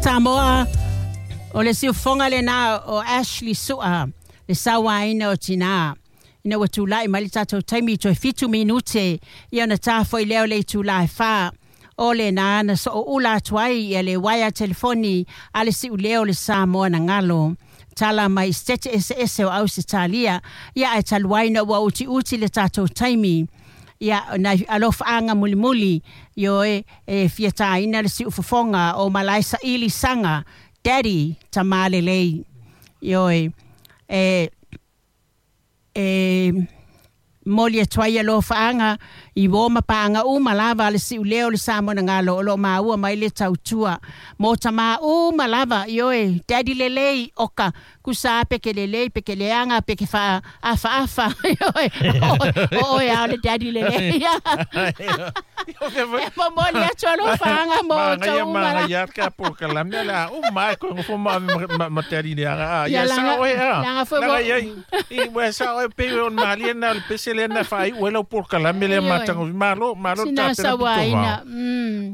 Samoa, o le siufofoga lena o Ashley Su'a, le sauaina o tinā. Ina ua tulai mai le tatou taimi toe 7 minute ia ona ta foi lea o le itula e 4. O lena na sooula atu ai ia le uaea telefoni a le siuleo o le Samoa na galo. Tala mai i setete eseese o Ausetalia, ia ae talu ai na ua utiuti le tatou taimi. Ia, nai alofaaga mulimuli, ioe, e fia taina le siufofoga o Malae Saili Saga, Daddy, Tamā Lelei. Ioe, e, e momoli atu ai alofaaga i uō ma paaga uma lava a le siuleo o le Samoa na galo o lo o maua mai le tautua mo tamā uma lava, ioe, Daddy lelei, oka, tusa pe ke lelei pe ke leaga pe ke faaafaafa, ioe, o oe lava o le Daddy lelei. E momoli atu alofaaga mo outou uma lava. Manaia ka polokalame le a uma ai koe nofo ma ave ma daddy leaga. Ia Ia laga sao e a. laga foi Laga ua iai i ua sao e pei o malie na o le pese lea na faaiu ai lau polokalame lea Ioe. matagofie. Malo, malo le Sina tapena pito vao. sauaina.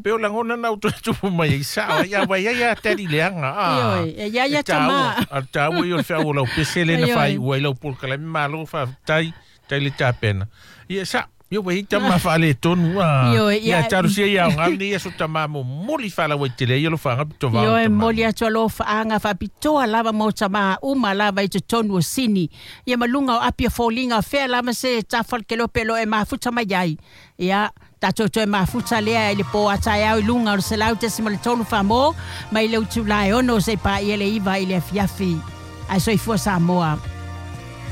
Pe o lagona na u toe tupu mai ai sao ai a vai ai a daddy leaga. Ioe, e ia E ia tāua, tamā. a tāua i o le feau o lau pese lea na Ioe. faaiu ai lau polokalame. Malo faafetai tai le tapena. Ia sa Ia ua i tama faaletonu a. Ioe, Ia ia talosia ia aoga nei aso tamā momoli faalauaitele ai o lo faga pito vao Ioe, tamā. momoli atu alofaaga faapitoa lava mo tamā uma lava i totonu o Sini. Ia ma luga o api o foliga o fea lava se tafalekelope lo e mafuta mai ai. Ia, tatou toe mafuta lea i le pō a taeao i luga o le 100.3 Faamō mai le utula e 6 seia paia le 9 i le afiafi. Ae soifua Samoa.